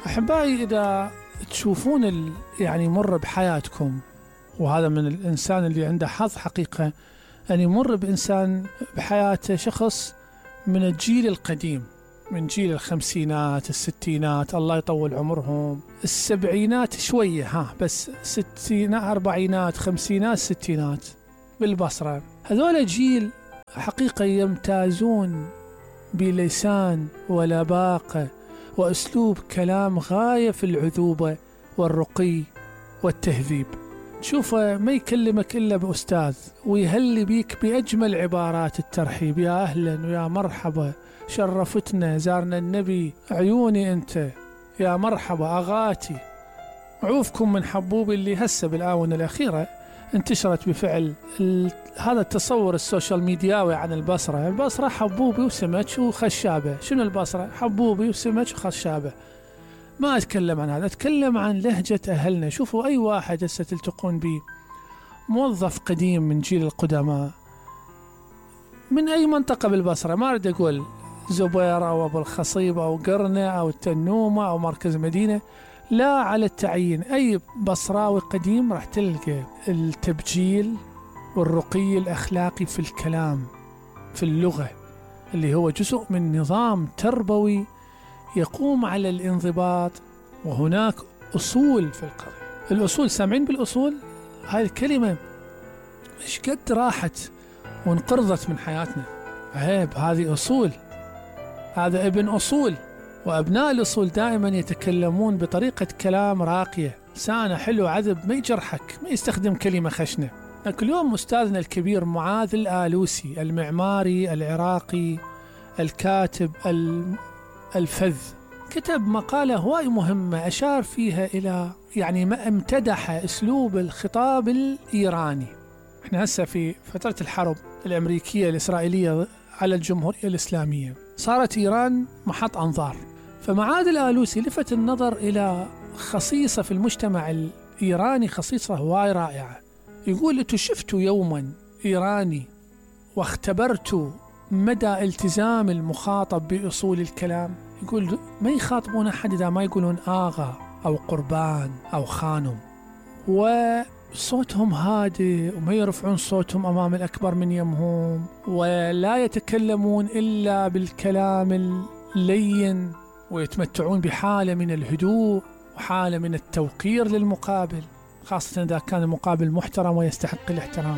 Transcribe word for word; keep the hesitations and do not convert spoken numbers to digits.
أحبائي، إذا تشوفون ال... يعني يمر بحياتكم، وهذا من الإنسان اللي عنده حظ حقيقة أن يمر بإنسان بحياته شخص من الجيل القديم، من جيل الخمسينات الستينات الله يطول عمرهم، السبعينات شوية ها بس ستينات أربعينات خمسينات ستينات بالبصرة. هذول جيل حقيقة يمتازون بلسان ولباقة وأسلوب كلام غاية في العذوبة والرقي والتهذيب. تشوفه ما يكلمك إلا بأستاذ، ويهلي بيك بأجمل عبارات الترحيب، يا أهلا ويا مرحبا، شرفتنا، زارنا النبي، عيوني أنت، يا مرحبا أغاتي، عوفكم من حبوبي، اللي هسه بالآونة الأخيرة انتشرت بفعل ال... هذا التصور السوشيال ميدياوي عن البصرة. البصرة حبوبي وسمك وخشابة. شنو البصرة؟ حبوبي وسمك وخشابة. ما أتكلم عن هذا، أتكلم عن لهجة أهلنا. شوفوا أي واحد هسه تلتقون به، موظف قديم من جيل القدماء من أي منطقة بالبصرة، ما أريد أقول زبير أو أبو الخصيب أو قرنة أو التنومة أو مركز مدينة، لا، على التعيين أي بصراوي قديم راح تلقى التبجيل والرقي الأخلاقي في الكلام، في اللغة، اللي هو جزء من نظام تربوي يقوم على الانضباط. وهناك أصول في القضية. الأصول، سامعين بالأصول؟ هاي الكلمة مش قد راحت وانقرضت من حياتنا. عيب، هذه أصول، هذا ابن أصول. وأبناء الأصول دائما يتكلمون بطريقة كلام راقية، لسانه حلو عذب، ما يجرحك، ما يستخدم كلمة خشنة. لكن اليوم أستاذنا الكبير معاذ الآلوسي، المعماري العراقي الكاتب الفذ، كتب مقالة هواي مهمة أشار فيها إلى يعني ما امتدح أسلوب الخطاب الإيراني. احنا هسه في فترة الحرب الأمريكية الإسرائيلية على الجمهورية الإسلامية، صارت إيران محط أنظار. فمعاذ الآلوسي لفت النظر إلى خصيصة في المجتمع الإيراني، خصيصة هواي رائعة. يقول: أنتوا شفتوا يوما إيراني واختبرتوا مدى التزام المخاطب بأصول الكلام؟ يقول ما يخاطبون أحد إذا ما يقولون آغا أو قربان أو خانم، وصوتهم هادئ وما يرفعون صوتهم أمام الأكبر من يمهم، ولا يتكلمون إلا بالكلام اللين، ويتمتعون بحالة من الهدوء وحالة من التوقير للمقابل، خاصة إذا كان المقابل محترم ويستحق الاحترام.